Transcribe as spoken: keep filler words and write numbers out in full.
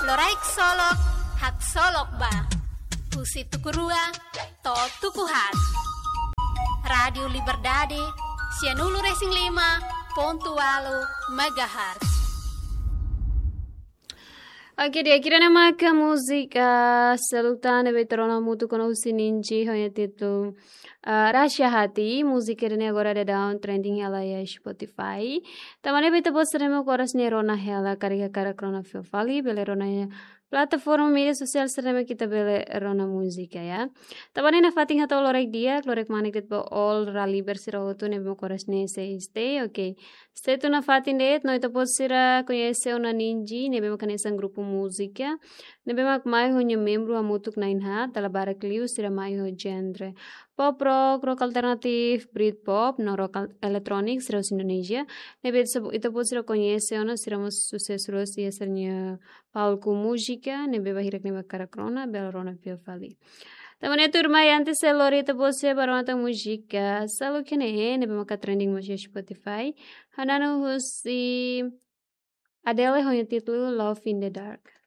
Loraik Solok, Haksolok Ba. Husi tuku rua to'o tuku haat. Rádiu Liberdade, sianulu-resin-lima pontu ualu megahertz. Oke, di'ak, ida-ne'e maka múzika seluk tan ne'ebé ita rona hamutuk ona husi Ninji, ho nia títulu, ah, Rahsia Hati. Múzika ida-ne'e agora daudaun trending hela iha Spotify. Tanba ne'e ita-boot sira ne'ebé mak oras ne'e rona hela karik hakarak rona fila fali, bele rona iha plataforma média sosiál sira ne'ebé mak ita bele rona múzika, ya. Tanba ne'e nafatin hato'o loraik di'ak, loraik manek de'it ba all Raliber sira hotu ne'ebé mak oras ne'e sei stay, oke. Stay tun nafatin de'it, no ita-boot sira koñese ona Ninji, ne'ebé mak hanesan grupu múzika ne'ebé mak mai ho nia membru hamutuk na'in haat, dala barak liu sira mai ho genre pop rock, rock alternatif, Britpop, no rock al-, electronic, sira husi Indonézia. Ne'ebé ita-boot sira koñese ona, sira mós susesu loos iha sira-nia palku múzika, ne'ebé ba hirak ne'ebé hakarak rona, bele rona fila fali. Tanba ne'e tuirmai, antes sei lori ita-boot sira ba rona tan múzika seluk iha ne'e, ne'ebé maka trending mós iha Spotify. Ha'u-nia husi Adele ho nia títulu Love in the Dark.